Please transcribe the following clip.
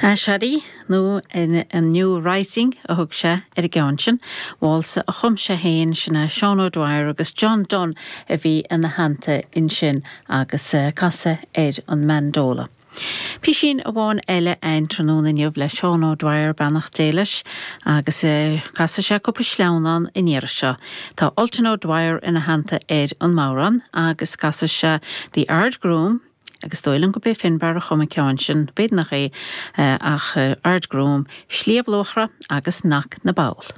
Aiséirí, nó A New Rising a thug sé ar an gceann sin. Válsa a chum sé féin, sin é Seán O'Dwyer agus John Dunne a bhí ina theannta ansin agus casadh ar an mandola. Písín amháin eile a'inn tráthnóna inniu le Seán O'Dwyer, beannacht Dé leis, agus casfaidh sé cúpla sleamhnán an iarraidh seo. Tá Ultan O'Dwyer ina theannta ar an mbodhrán agus casfaidh sé The Ardgroom, Agus is dóigh liom gurb é Finbarr a chum an ceann sin, b'fhéidir nach é, ach Ardgroom, Sliabh Luachra agus Knocknaboul.